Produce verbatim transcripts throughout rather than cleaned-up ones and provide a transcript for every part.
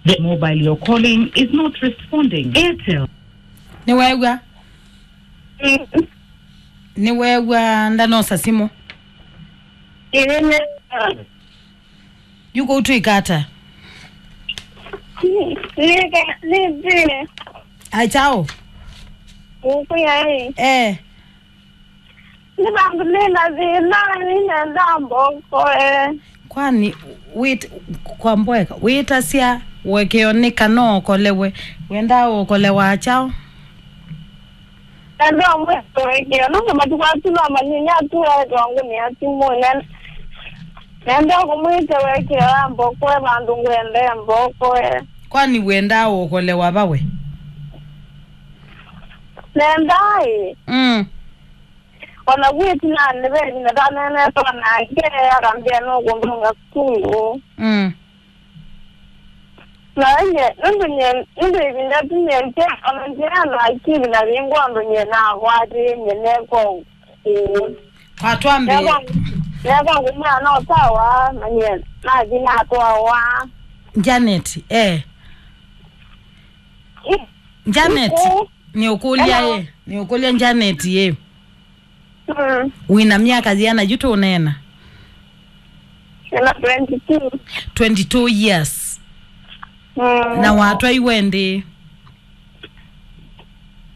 The mobile you're calling is not responding. Airtel. Nĩweew'a? Mm. Nĩweew'a ndanosa simũ? Ĩĩ, nĩ- Yu kũu twĩka ata? Nĩka- nĩthĩe. Achaũ? Ũkwĩa ĩ. Eh. Nĩ vandũ nĩ na thĩna, nĩnenda mbokoe. Kwani wĩt-, kwa mboeka, wĩtasya ũekeo nĩ kana ũokolewe? Wendaa ũokolewa kyaũ? Na ndomwĩta ũekeo, nũndũ matukũ asu no manyinye atu aetwa ngũnĩa simũ. Ne-, nenda kũmwĩta ũekeo ambokoe vandũ ngwenda mbokoe. Kwani wendaa ũokolewa va we? Nendaa ĩ. Mm. Ona vu ĩtinanĩ ve ĩvinda ndaneenetwa nake, akambĩa nũkũndũnga sukulu. Mm. Na nye, nũndũ nye, nũndũ ĩvinda tu nye nje, ona nje na akili na vingwa ũndũ nye nakwatĩĩe nye nekwa ũkũũ. Kwatwa mbee. Nekwa, nekwa ngũmwĩa no sawa, na nye nathi natwawa. Janet, eh. Ĩ- Janet, Ĩkũ- nĩũkũlya Hello. Ĩ, nĩũkũlya Janet ĩ. Mm. Wĩna myaka yĩana yu tũneena? Ĩna twenty-two. Twenty-two years. Mm. Na watwaiwe ndĩ?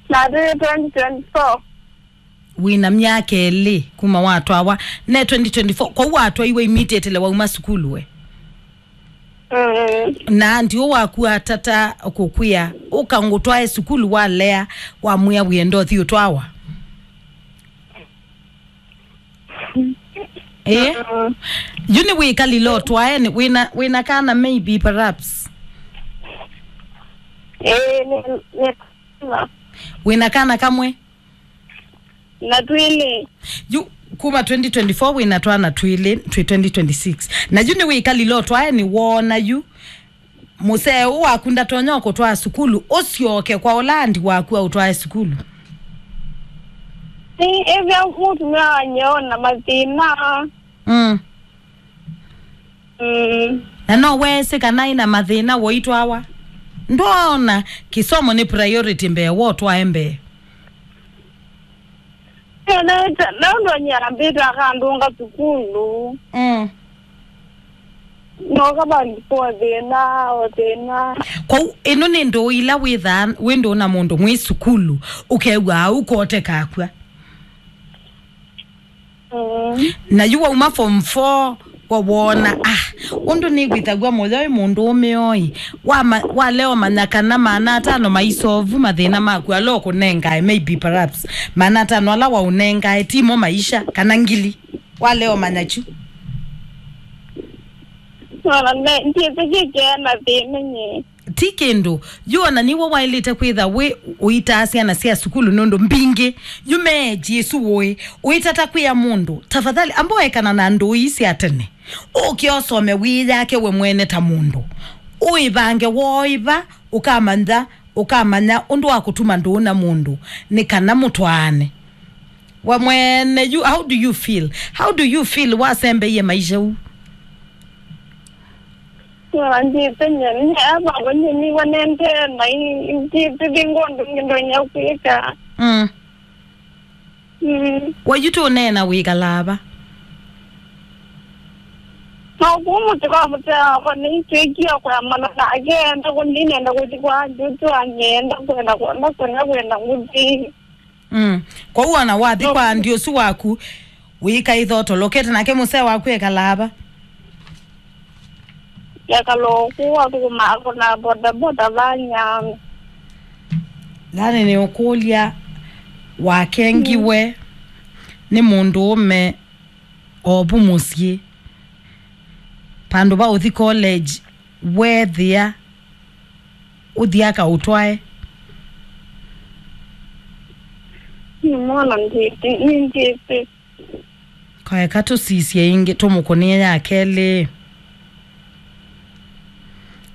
Na twenty twenty-four. Wĩna myaka ĩlĩ kuma watwawa. Ne twenty twenty-four, kwoou watwaiwe immediately wauma sukulu we? Mm. Na ndiũ waku atata kũkwĩa, "Ũka ngũtwae sukulu," walea, wamwĩa, "Wĩenda ũthi ũtwawa." Eh? Mm. Yu nĩ wĩkalile ũtwae, nĩ wĩna, wĩna kana maybe perhaps? Eh, nĩ, nĩ, wĩna kana kamwe? Na twĩlĩ. Yu, kuma twenty twenty-four wĩna twana twĩlĩ, twĩ twenty twenty-six. Na yu nĩwĩkalile ũtwae nĩwoona yu. Mũsee ũũ waku ndatonya kũtwaa sukulu, ũsyoke kwa ũla andi waku aũtwae sukulu. Nĩ ĩvya mũtumĩa wanyeo na mathĩna. Mm. Mm. Na no weesĩ kana ĩna mathĩna woitwawa? Ndwona kĩsomo nĩ priority mbee wotwae mbee? Ĩĩ, na ĩta- na ũndũ nyambĩte akandũnga sukulu. Mm. Noka vandũ po thĩna, o thĩna. Kwoou, ĩno nĩ ndũũ ila wĩthaa wĩ ndũũ na mũndũ mwĩ sukulu, ũkew'aa ũkote kakw'a. Mm. Na yu wauma form four, wa wona, ah, ũndũ nĩkwĩthaw'a mũyo ĩ mũndũ ũmĩoi, wama-, walea ũmanya kana maana atano maisovu mathĩna maku ala ũkũnengae, maybe perhaps maana atano ala waũnengae timo maisha, kana ngili, walea ũmanya kyu. Ona me- ndiĩsĩ kĩkea na thĩna nye. Ti kĩndũ. Yu ona nĩw'o waĩlĩte kwĩtha wĩ ũitaa syana sya sukulu, nũndũ mbingĩ yu meeji ĩsu ũĩ. Ũitata kwĩa mũndũ, tafadhali, amba ũekana na ndũũ ii sya tene. Ũke ũsome wĩyake we mwene ta mũndũ. Ũĩvange woĩva, ũkamanya, ũkamanya ũndũ wa kũtuma ndũũ na mũndũ, nĩ kana mũtwaane. We mwene, you, how do you feel? How do you feel wasembeie maisha ũu? Nĩwambĩte nyeni, ava nyeni wanende mai, nĩtĩtĩthingo ndũngĩ ndonya kwĩka. Mm. Mm. Wayu tũneena wĩkalaa va? No kũu mũtĩ kwa mũtĩ wakwa nĩitwĩkie kwamana nake, enda kũndinenda kũthi kwa njutu angenda kwenda kwenda kwenda kwenda ngũthi. Mm. Kwoou ona wathi kwa andi ũsu waku, wĩka ĩthotolokete nake mũsee waku ekalaa va? Ekala ũku athũkũmaa kũna bodaboda vanya. Yani nĩũkũlya, wakengiwe nĩ mũndũũme ovu mũsyĩ, vandũ va ũthi college, weethĩa ũthi akaũtwae. Nĩmwona ndyĩtĩ, nĩndyĩtĩ. Kaeka tũsisye ĩngĩ, tũmũkũnĩe ya kelĩ.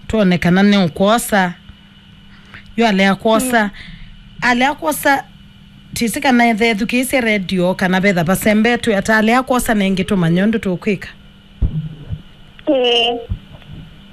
Twone kana nĩũkwosa. Yu alea kwosa. Mm. Alea kwosa, tĩsĩ kana ethethukĩĩsye redio kana vetha vasembetwe ata, alea kwosa nengĩ tũmanye ũndũ tũkwĩka. Ĩĩ.